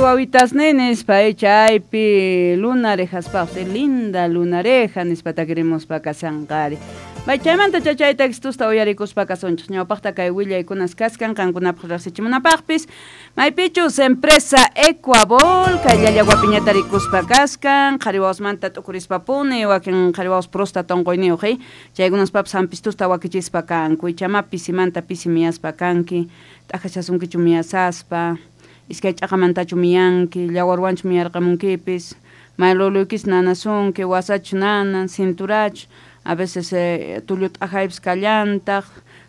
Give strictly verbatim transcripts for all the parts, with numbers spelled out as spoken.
Wawitasni nispa chaypi lunarejaspaq linda lunareja nispa takirimuspa kashanqari. Bay chaymanta chachay textusta uyarikuspa kasunchik ñawpaqta kay willaykunas kaskan qankunapaq riqsichimunapaqpis maypichus empresa Ecuabol kay llallawapiñata rikuspa kaskan qhari wawasmanta t'ukurispapuni wakin qhari wawas próstata unquyniyuq eh chaykunaspapis hampistusta wakichispa kanku ichama pisimanta pisi miyaspa kanki t'ajachasunkichu miyasaspa iskay ch'aqamantachu miyanki llawarwanchu miyarqamunkipis mayluluykis nanasunki wasachu nanan cinturachu a veces eh, tullu t'ajaypis kallantaq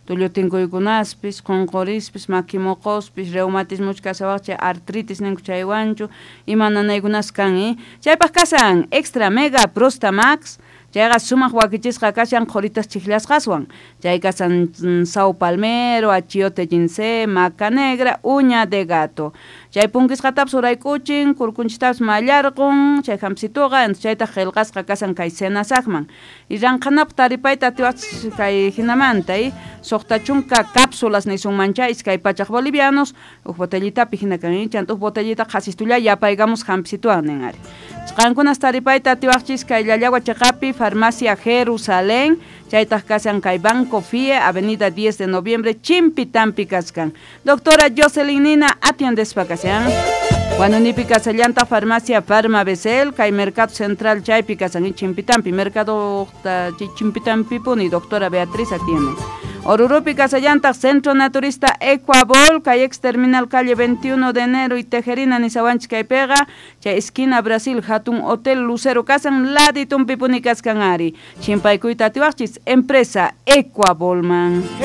tullu tinkuykunaspis qunqurispis maki muquspis reumatismuchu kashawaq chay artritis ninku chaywanchu ima nanaykunas kan eh chaypaq kasan extra mega prostamax chayqa sumaq wakichisqa kashan qhuritas chiklasqaswan chay kasan sao palmero achiote ginseng maca negra uña de gato chay punkisqatapis urayk'uchin kurkunchistapis mallarqun chay hamsituqa chaytaq qillqasqa kasan kay senasaqman y ranqhanapaq taripayta atiwaqchis kay hinamanta eh suqta chunka cápsulas nisunmancha iskay pachaq bolivianos huk botellitapi hina kan chanta huk botellita qhasistulla yapaykamus hamsituwan nin ari qankunas taripayta atiwaqchis kay Llallagua chiqapi Farmacia Jerusalén chaytaq kashan kay Banco F I E Avenida diez de Noviembre Chimpitampi kaskan doctora Jocelyn Nina atiendespa kashan Huanunipi kasallanta Farmacia Farma Becel kay Mercado Central chaypi kasan Chimpitampi Mercado Chimpitampi puni doctora Beatriz atiende Orurupi kasallanta Centro Naturista Ecuabol kay ex terminal calle veintiuno de enero y Tejerina nisawanchik kaypiqa chay esquina Brasil hatun Hotel Lucero kasan laditumpi puni kaskan ari chimpaykuyta atiwaqchis empresa Ecuabolman.